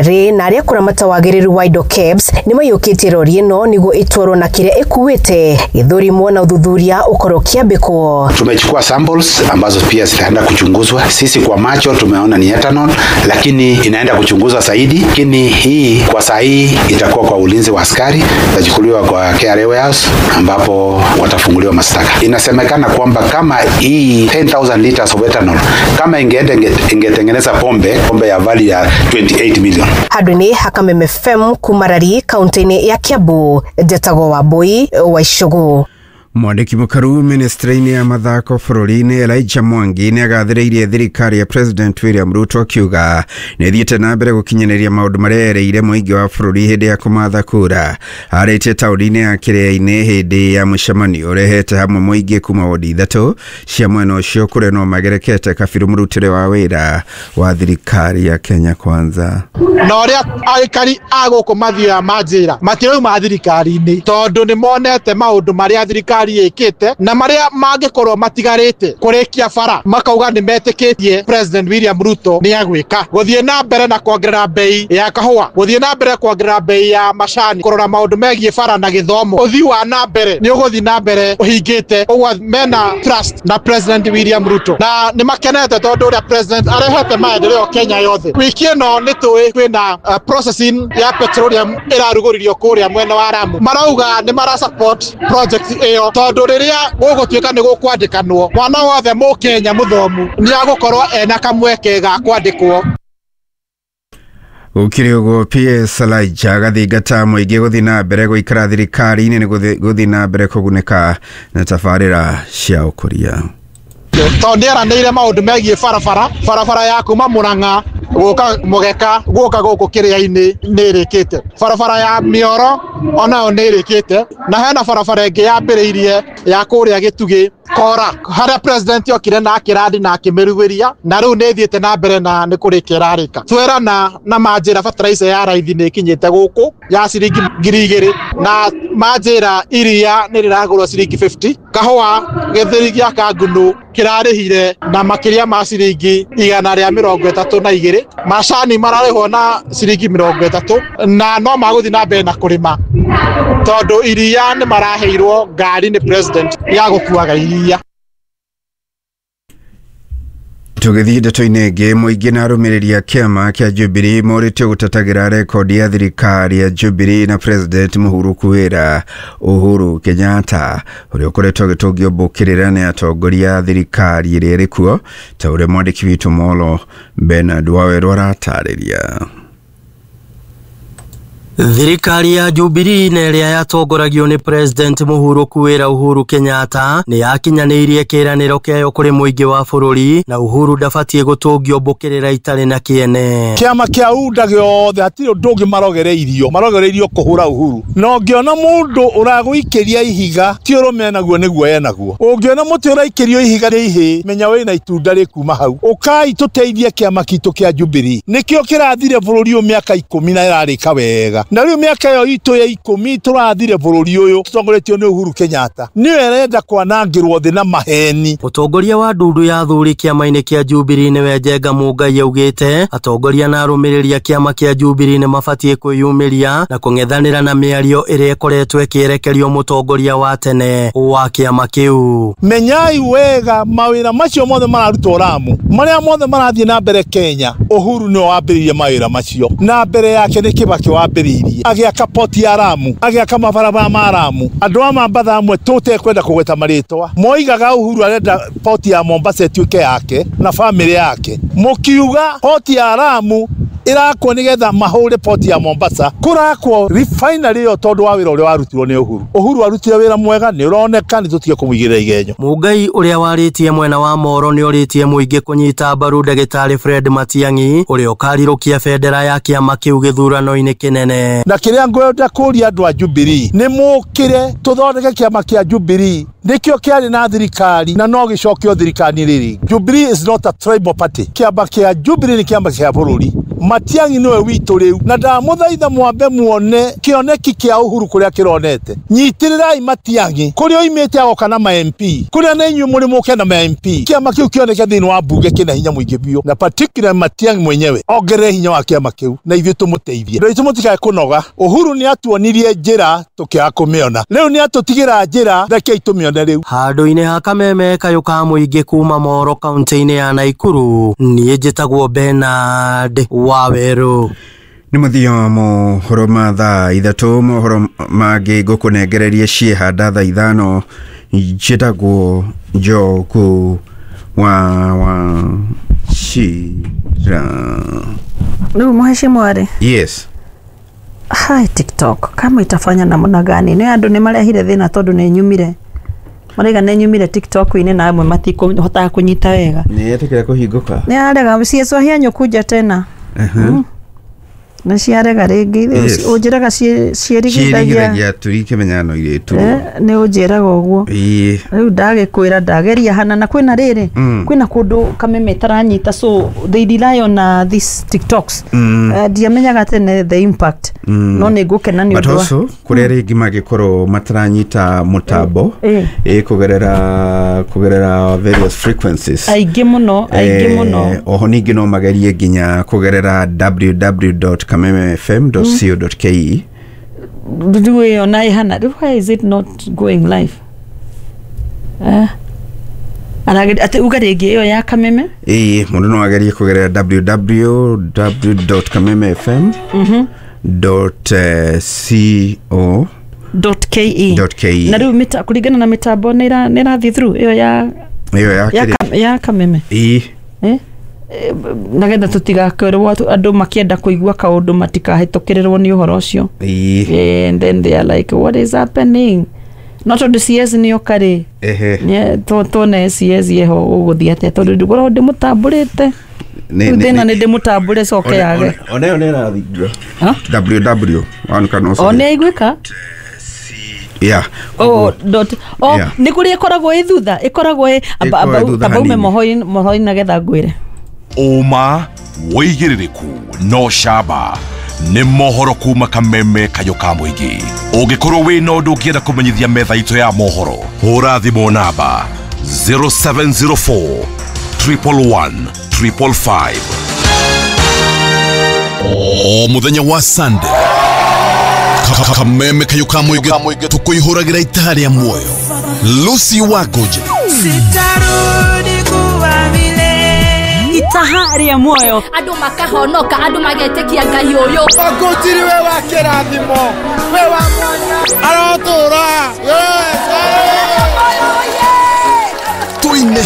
Rĩ na arĩa kũramata wagĩrĩru wa indo KEBS nĩ maiyũkĩtie rori ĩno nĩguo ĩtwarwo na kĩrĩa ĩkuĩte gĩthũrimwo na ũthuthuria ũkorwo ũkĩambĩkwo. Tumechukua samples ambazo pia zitaenda kuchunguzwa. Sisi kwa macho tumeona ni ethanol, lakini inaenda kuchunguzwa zaidi. Lakini hii kwa saa hii itakuwa kwa ulinzi wa askari, itachukuliwa kwa KRA warehouse ambapo watafunguliwa mashtaka. Inasemekana kwamba kama hii 10,000 liters of ethanol kama ingeenda ingetengeneza pombe ya value ya 28 million. Handũ-inĩ ha Kameme FM kuma Rari kaunti-inĩ ya Kiambu, njetagwo Wambui wa Icũgũ. Mwandĩki mũkaru ministry-inĩ ya mathako bũrũri-inĩ Elijah Mwangi nĩ agathĩrĩirie thirikari ya President William Ruto akiuga nĩ ĩthiĩte na mbere gũkinyanĩria maũndũ marĩa erĩire mũingĩ wa bũrũri hĩndĩ ya kũmatha kura. Arĩtie taũni-inĩ ya Kĩrĩa-inĩ hĩndĩ ya mũcemanio ũrehete hamwe mũingĩ kuma wodi ithatũ cia mwena ũcio kũrĩa no magerekete kabirũ mũrutĩre wa wĩra wa thirikari ya Kenya Kwanza. Na ũrĩa aikari a gũkũ mathiaga manjĩra matirauma thirikari-inĩ tondũ nĩ monete maũndũ marĩa thirikari ĩkĩte na marĩa mangĩkorwo matigarĩte kũrĩkia bara makauga nĩ metĩkĩtie President William Ruto nĩ agwĩka gũthiĩ na mbere na kuongerera bei ya kahũa, gũthiĩ na mbere kuongerera bei ya macani, kũrora maũndũ megiĩ bara na gĩthomo. Ũthii wa na mbere nĩ ũgũthiĩ na mbere ũhingĩte ũguo mena trust na President William Ruto na nĩ makenete tondũ ũrĩa President arehete maendeleo Kenya yothe. Wiki ĩno nĩ tũĩ kwĩna processing ya petroleum ĩrarugũririo kũrĩa mwena wa Lamu, marauga nĩ mara support project ĩyo tondũ rĩrĩa gũgũtuĩka nĩ gũkwandĩkanwo mwana wothe mũkenya mũthomu nĩ agũkorwo ena kamweke ga kwandĩkwo. Gũkĩrĩ ũguo PS Elijah agathingata mũingĩ gũthiĩ na mbere gũikara thirikari-inĩ nĩ gũthiĩ na mbere kũgunĩka na tabarĩra cia ũkũria. Tondũ nĩ eranĩire maũndũ megiĩ barabara, barabara ya kuma Murang'a gũka Mũgeka gũka gũkũ Kĩrĩa-inĩ nĩ ĩrĩkĩte, barabara ya Mĩoro onayo nĩ ĩrĩkĩte, na hena barabara ĩngĩ yambĩrĩirie ya kũrĩa Gĩtugĩ Kora harĩa president okire na akĩrandi na akĩmĩrugĩria na rĩu nĩ ĩthiĩte na mbere na nĩ kũrĩkia ĩrarĩka. Twerana na manjĩra fertilizer ya raithi nĩ ĩkinyĩte gũkũ ya ciringi 2,000 na manjĩra iria nĩ rĩragũrwo ciringi 50, kahũa gĩthĩri gĩa Kangunũ kĩrarĩhire na makĩria ma ciringi 132, macani mararĩhwo na ciringi 30 na no magũthiĩ na mbere na kũrĩma tondũ iria nĩ maraheirwo ngari nĩ president ya gũkuaga iria. Tũgĩthiĩ ndeto-inĩ ĩngĩ, mũingĩ na arũmĩrĩri a kĩama kĩa Jubilee morĩtio gũtetagĩra rekondi ya thirikari ya Jubilee na President mũhurũku wĩra Uhuru Kenyatta ũrĩa ũkoretwo agĩtũngio mbũkĩrĩra nĩ atongoria a thirikari ĩrĩa ĩrĩ kuo ta ũrĩa mwandĩki witũ Molo Bernard Wawerũ aratarĩria. Thirikari ya Jubilee na ĩrĩa yatongoragio nĩ President mũhurũku wĩra Uhuru Kenyatta nĩ yakinyanĩirie kĩĩranĩro kĩayo kũrĩ mũingĩ wa bũrũri na Uhuru ndabatiĩ gũtũngio mbũkĩrĩra itarĩ na kĩene. Kĩama kĩa UDA gĩothe hatirĩ ũndũ ũngĩ marogereirio, marogereirio kũhũra Uhuru. Na ũngĩona mũndũ ũragũikĩria ihiga ti ũrũme enaguo nĩguo enaguo. Ũngĩona mũtĩ ũraikĩrio ihiga rĩ ihĩ, menya wĩna itunda rĩkuma hau. Ũkai tũteithie kĩama kitũ kĩa Jubilee. Nĩkĩo kĩrathire bũrũri ũyũ mĩaka 10 na ĩrarĩka wega. Na rĩu mĩaka ĩyo itũ ya 10 tũrathire bũrũri ũyũ tũtongoretio nĩ Uhuru Kenyatta. Nĩwe arenda kwanangĩrwo thĩ na maheni. Mũtongoria wa ndundu ya athuri kĩama-inĩ kĩa Jubilee nĩwe Njenga Mũngai augĩte atongoria na arũmĩrĩri a kĩama kĩa Jubilee nĩ mabatiĩ kwĩyumĩria na kũng'ethanĩra na mĩario ĩrĩa ĩkoretwo ĩkĩerekerio mũtongoria wa tene wa kĩama kĩu. Menyai wega mawĩra macio mothe mararutwo Lamu, marĩa mothe marathiĩ na mbere Kenya, Uhuru nĩwe wambĩrĩirie mawĩra macio, na mbere yake nĩ Kibaki wambĩrĩirie agĩaka poti ya Lamu, agĩaka mabarabara ma Lamu. Andũ a Mambatha amwe tũtekwenda kũgweta marĩtwa moigaga Uhuru arenda poti ya Mombasa ĩtuĩke yake na bamĩrĩ yake, mũkiuga poti ya Lamu ĩrakwo nĩgetha mahũre poti ya Mombasa, kũrakwo refinery ĩyo tondũ wa wĩra ũrĩa warutirwo nĩ Uhuru. Uhuru arutire wĩra mwega, nĩ ũroneka, nĩ tũtige kũmũigĩrĩra igenyo. Mũngai ũrĩa warĩtie mwena wa Moro nĩ ũrĩtie mũingĩ kũnyita mbaru ndagĩtarĩ Fred Matiang'i ũrĩa ũkarirũkia bendera ya kĩama kĩu gĩthurano-inĩ kĩnene. Na kĩrĩa ngwenda kũria andũ a Jubilee nĩ mũkĩre tũthondeke kĩama kĩa Jubilee, nĩkĩo kĩarĩ na thirikari na no gĩcokio thirikari rĩrĩ. Jubilee is not a tribal party. Kĩama kĩa Jubilee nĩ kĩama kĩa bũrũri. Matiang'i niwe witũ rĩu, na ndamũthaitha mwambe muone kĩoneki kĩa Uhuru kũrĩa kĩronete. Nyitĩrĩrai Matiang'i kũrĩa oimĩte agoka na ma MP, kũrĩa na inyuĩ mũrĩ mũke na ma MP, kĩama kĩu kĩoneke thĩinĩ wa mbunge kĩna hinya mũingĩ biũ, na particular Matiang'i mwenyewe ongerere hinya wa kĩama kĩu na ithuĩ tũmũteithie. Andũ aitũ mũtikae kũnoga. Uhuru nĩ atuonirie njĩra tũkĩaga kũmĩona, rĩu nĩ atũtigĩra njĩra, rekei tũmĩone rĩu. Handũ-inĩ ha Kameme kayũ ka mũingĩ kuma Moro kaunti-inĩ ya Naikuru, niĩ njĩtagwo Bernard Waweru. Nĩ mũthia mohoro ma thaa 3, mohoro mangĩ ngũkũnengererie ciĩhanda thaa 5. Njĩtagwo Njogu wa Wachira. Rĩu mheshimiwa rĩ, Yes. Hai, TikTok kama itafanya namna gani? Nĩ andũ nĩ marehire thĩna tondũ nĩ nyumire, maraiga nĩ nyumire TikTok-inĩ na amwe matikohotaga kũnyita wega. Nĩ yetĩkĩra kũhingũka? Nĩ arega ciecwahia nyũkunja tena. Nĩ ciarega rĩngĩ. Yes. Ũnjĩraga ciĩrigithagia. Ciĩrigithagia tũrikĩmenya no irĩtu. Nĩ ũnjĩraga ũguo. Ĩĩ. Rĩu ndagĩkwĩra ndageria hana na kwĩna rĩrĩ, kwĩna kũndũ Kameme ĩtaranyita, so they rely on these TikToks. Ndiamenyaga tene the impact, no nĩ ngũkena nĩ But ũndũ wa also kũrĩa rĩngĩ mangĩkorwo mataranyita mũtambo kũgerera various frequencies, aingĩ mũno, aingĩ mũno. Oho ningĩ no magerie nginya kũgerera www.kamemefm.co.ke. Rĩu ĩyo na ĩhana rĩu, why is it not going live? Atĩ uga rĩngĩ ĩyo ya Kameme. Ĩĩ, mũndũ no agerie kũgerera www.kamemefm .co dot ke. .ke. Na rĩu kũringana na mĩtambo nĩ ĩrathiĩ through ĩyo ya ĩyo ya ya kĩrĩa? Ya Kameme. Ĩĩ. Eh? Nagetha tũtigakerwo andũ makĩenda kũigua kaũndũ matikahĩtũkĩrĩrwo nĩ ũhoro ũcio. Ĩĩ. And then they are like, "What is happening?" No tondũ CS nĩoka rĩ, tuone CS yeho ũgũthiĩ atĩa, tondũ ndĩgũrwo ndĩmũtambũrĩte. Nĩ- Rĩu nĩ- thĩna nĩ- nĩ ndĩmũtambũre coke yage. Ona ĩyo nĩ ĩrathingio. Ha? Ww one can also O nĩ aiguĩka. Yeah. Oh, dot oh. Yeah. Nĩ kũrĩa ĩkoragwo ĩ thutha, ĩkoragwo ĩ Ĩkoragwo ĩ thutha amba ume hanini. mohoro-inĩ nagetha ngwĩre. Ũma wĩigĩrĩrĩku no camba nĩ mohoro kuma Kameme kayũ ka mũingĩ. Ũngĩkorwo wĩna ũndũ ũngĩenda kũmenyithia metha itũ ya mohoro, hũra thimũ namba 0704 111 555. O mũthenya wa Sunday, Kameme kayũ ka mũingĩ tũkũihũragĩra itaha rĩa muoyo. Lucy Wangũnjĩ. Sitarudi kuwa vile. Itaha rĩa muoyo. Andũ makahonoka, andũ magetĩkia Ngai ũyũ. Wangũnjiri we wa kĩrathimo, we wa mwanya, arotũra. Yes.